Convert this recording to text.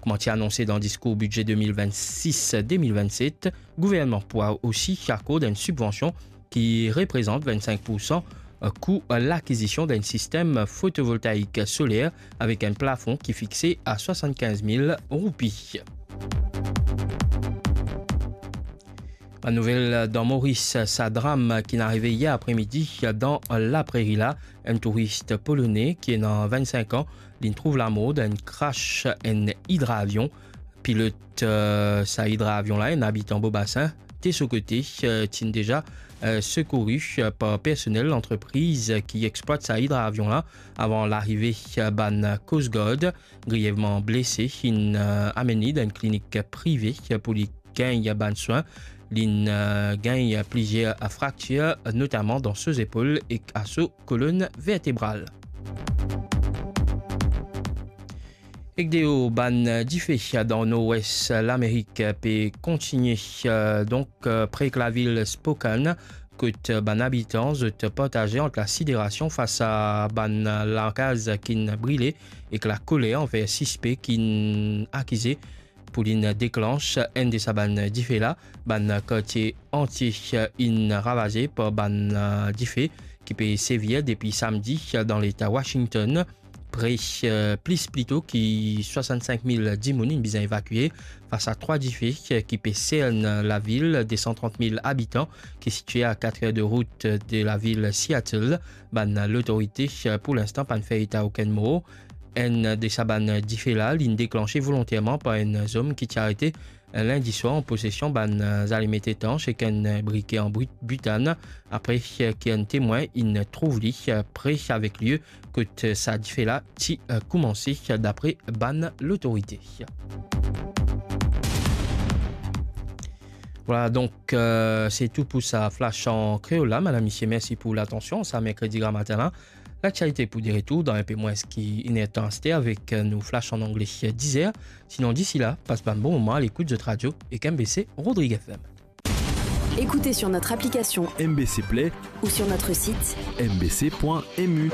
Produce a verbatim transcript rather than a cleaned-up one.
Kouma ti anonse dan diskour bidze de mil vennsis de mil vennset, gouvernman pou osi akord enn sibvansion ki reprezant vennsenk poursan kou lakizision d'enn sistem fotovoltaik soler avek enn plafon ki fixe a swasannkinz mil roupi. Bann nouvel dan Moris, sa dram ki'nn arive yer apremidi dan Lapreri la, enn touris polone ki ena vennsenk an, li'nn trouv lamor dan enn krash enn idravion. Pilot, eh, sa idravion la, enn abitan Bobasin, de so kote, eh, ti'nn deza, eh, sekouri, eh, par personel lantrepriz ki explwat sa idravion la avan larive, eh, bann Coast Guard. Grievman blese, inn, eh, amenn li dan enn klinik prive, eh, pou li gagn bann swin. Li'nn, eh, gagn plizier fraktir, notaman dan so zepol ek a so kolonn vertebral. Ek deor, bann dife dan Norwes Lamerik pe kontigne, eh, donk, eh, pre ek lavil Spokane, kot bann abitan zot partaze ant lasiderasion fas a bann lakaz ki'nn brile ek lakoler anver sispek ki'nn akize pou li'nn deklanch enn de sa bann dife la. Bann kartie antie inn ravaze par bann, eh, dife ki pe sevir depi samdi dan leta Washington. Pre, eh, plis plito ki swasannsenk mil dimoun inn bizin evakie fas a trwa dife, eh, ki pe sern lavil de san trant mil abitan ki sitye a katr er de rout de lavil Seattle. Bann lotorite, eh, pou linstan pa'nn fer eta okenn mor. Enn de sa bann dife la, li'nn deklanse volonterman par enn zom ki ti arete, eh, lindi swar an posesion bann, eh, zalimet etans ek enn, eh, brike an bri-, bitann, apre, eh, ki enn temwin inn trouv li, eh, pre avek lie kot, eh, sa dife la ti, eh, koumanse, eh, dapre bann lotorite. Vwala, donk, eh, se tou pou sa Flash an Kreol la. Madam, misie, mersi pou latansion. Sa merkredi gramatin la. Laktialite pou de retour dan enpe mwins ki inertan aster avek, eh, nou Flash an Angle, eh, diz er. Sinon, disi la, pas bann bon moman a lekout zot radio ek M B C Rodrigues F M. Écoutez sur notre application M B C Play ou sur notre site M B C point M U.